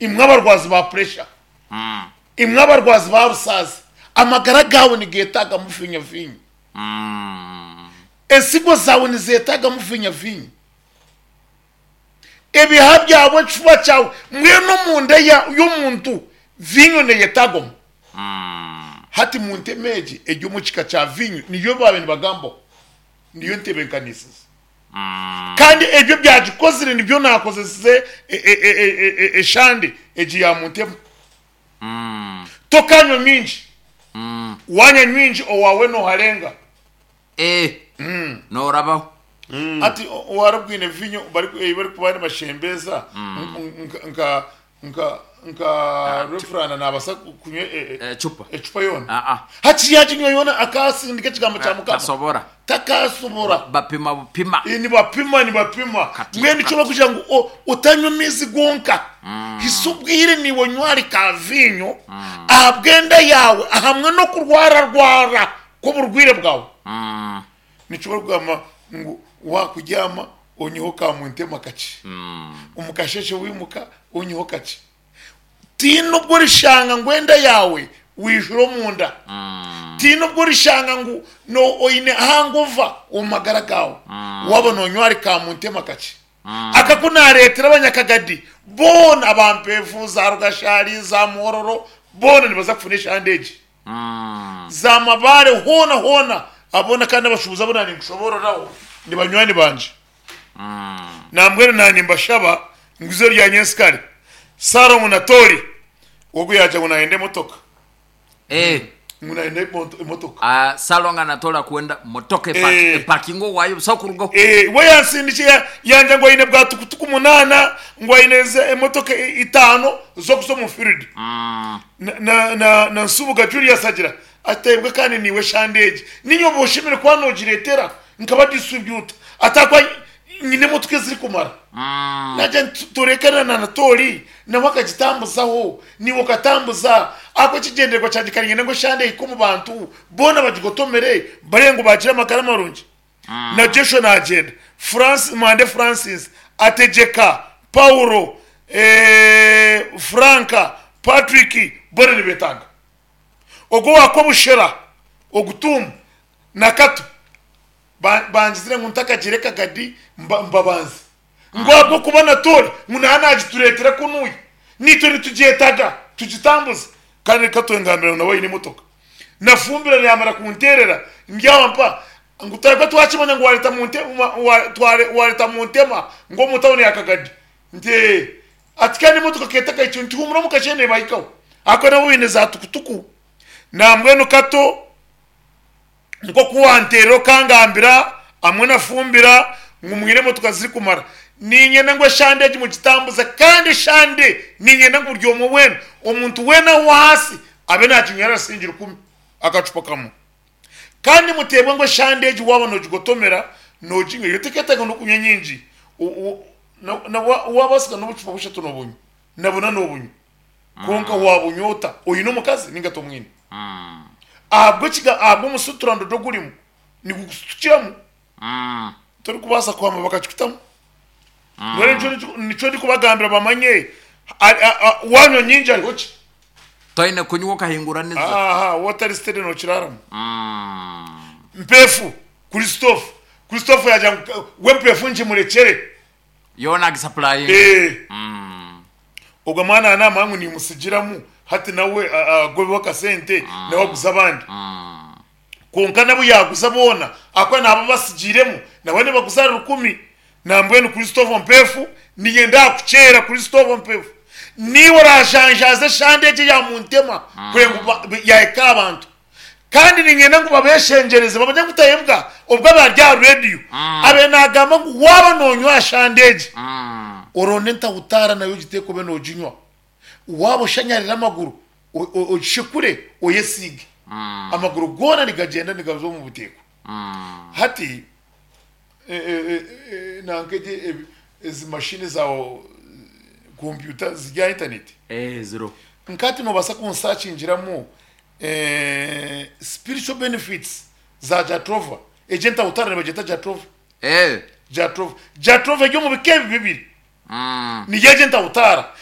Imwe abarwazi ba puresha, imwe abarwazi ba rusaazi, amagara gaawe nigeetaagamu viinyo-viinyo. Ensigo zaawe nizeetaagamu viinyo-viinyo. Ebihaha byawe, ekifuba kyawe, mbwenu omunda y'omuntu viinyo neyetaagwamu. Hati muntema egi eri omu kika kya viinyo niyo baabaire nibagambaho, niyo ntebeekanisize. Kandi ebyo ebyagikozire nibyo naakozesize eshande egi ya muntema. Tokanywa mingi, waanywa mingi owaawe nooharenga. Eeh norabaho. Hati owarabwine vinyo ei barikuba nibashembeza nka nka nka Refurana nabasa kunywa Ecupa. ecupa yoona? Aa. Hati yaginywa yoona akasindika ekigambo kya Mukama? Tasobora. Takasobora. Bapima bupima. Nibapima nibapima. Kati Mbwenu nikyo kati. barikugira ngu otanywa amaizi gonka. Hisa obwire naiwe onywe ahari ka viinyo ahabw'enda yaawe ahamwe n'okurwararwara kw'oburwaire bwawe. Nikyo barikugamba ngu waakubyama onyweho ka muntema kakye, omu kasheeshe waimuka onyweho kakye. Tihaine obu orishanga ngu enda yaawe waijura omunda, tihaine obu orishanga ngu oine hangova omu magara gaawe waaba noonywa ahari ka muntema kakye. Aka ku naareetera abanyakagadi boona aba Mpeefu, za Rugashari, za Muhororo boona nibaza kufuna eshande egi. Za Mabare hoona hoona aboona kandi abashuubuzi abu naaninkushoboororaho ni banywani bangye. Nambwenu naanimbashaba ngu eizooba rya nyensikare Salomo na Tori ogwo yaagira ngu naayenda emotoka. Ngu naayenda emotoka. Ah, Salongo anatola kwenda motoka eparkinga owaayo busa kurugaho. We yansindikire yangira ngu aine bwa tukutuku munaana ngu aine emotoka itaano z'okuza omu field. Na Nsubuga Julius agira ati, Taibwa kandi niiwe eshande egi niinye oba oshemereire kuba noogireetera nkaba distributor ati ahakuba nyine emotoka ezirikumara. Naagira nti turekane na Anatoli nawe akagitambuzaho naiwe okatambuza ahakuba ekigyendererwa kyangye kare niinyenda ngu eshande ehike omu bantu boona bagigotomere barebe ngu baagira amagara marungi. Na Joshua naagyenda, Francis, Mwande Francis, Ategyeka, Paulo, Frank, Patrick boona nibeetaaga. Ogwo owa Kobushera, Ogutuumu na Kato bangizire ngu ntakagiire Kagadi mbabanze. Ngu ahabw'okuba Anatoli ngu naaba naagitureetera kunuya, naitwe nitugyetaga tugitambuze. Kandi Kato engambira ngu nawe aine emotoka. Nafumbira yaamara kunteerera ndyampa ngu twahika twakimanya ngu waareta waareta Muntema ngu omu tawuni ya Kagadi. Nti ee. Ati kandi emotoka keetakaikyo nti huumura omu kasheeshe neebahikaho. Ahakuba nabo baine za tukutuku. Nambwenu Kato nk'oku wanteerera okangambira hamwe na Fumbira ngu mwine emotoka zirikumara, niinyenda ngu eshande egi mugitambuze kandi eshande niinyenda ngu buri omwe weena, omuntu weena ow'ahaasi abe naaginywera siringi rukumi akacupa kamwe. Kandi muteebwe ngu eshande egi waaba noogigotomera nooginywa, yo tekeetaaga n'okunywa nyingi, waabaasika n'obucupa bushatu noobunywa, na buna noobunywa. Kwonka waabunywa ota? Oine omukazi nainga tomwine? Ahabw'ekiga ahabw'omusuturandodo ogurimu nigukusutukiramu torikubaasa kuhama bakakikutamu. Mbwenu nikyo nikyo ndikubagambira bamanye waanywa nyingi hariho ki? Toine kunywa okahinguraniza. Aha, waaba otari steady nookiraaramu. Mpeefu, Christophe, Christophe yaagira ngu we mpeefu ngimurekyere. Yoona agisapurayinga. Ee. Ogwo mwana naamanya ngu nimusigiramu hati nawe agobeho akasente nawe aguze abandi. Kwonka nabu yaaguza boona ahakuba naaba abasigiiremu nabo nibaguza ahari rukumi. Nambwenu Christopher Mpeefu niinyenda kukyera Christopher Mpeefu niiwe oraajanjaaze eshande egi eya Muntema kureba ngu yaahika aha bantu. Kandi niinyenda ngu babeeshengyereze bamanye ngu Tayebwa obwo aba ari aha reediyo abe naagamba ngu waaba noonywa aha shande egi, oronde entahutaara nayo ogiteeke obe nooginywa. Waaba oshanyarire amaguru, ogishekure oyesiige. Amaguru goona nigagyenda nigaza omu buteeko. Hati nanka egi ezi mashini za kompyuta ziri aha intaneti. Ziriho. Nka hati noobaasa kunsakingiramu spiritual benefits za Jatropha. Egyo entahutara nibagyeta Jatropha. Jatropha. Jatropha eri omu bika ebi bibiri. Niyo egyo entahutara.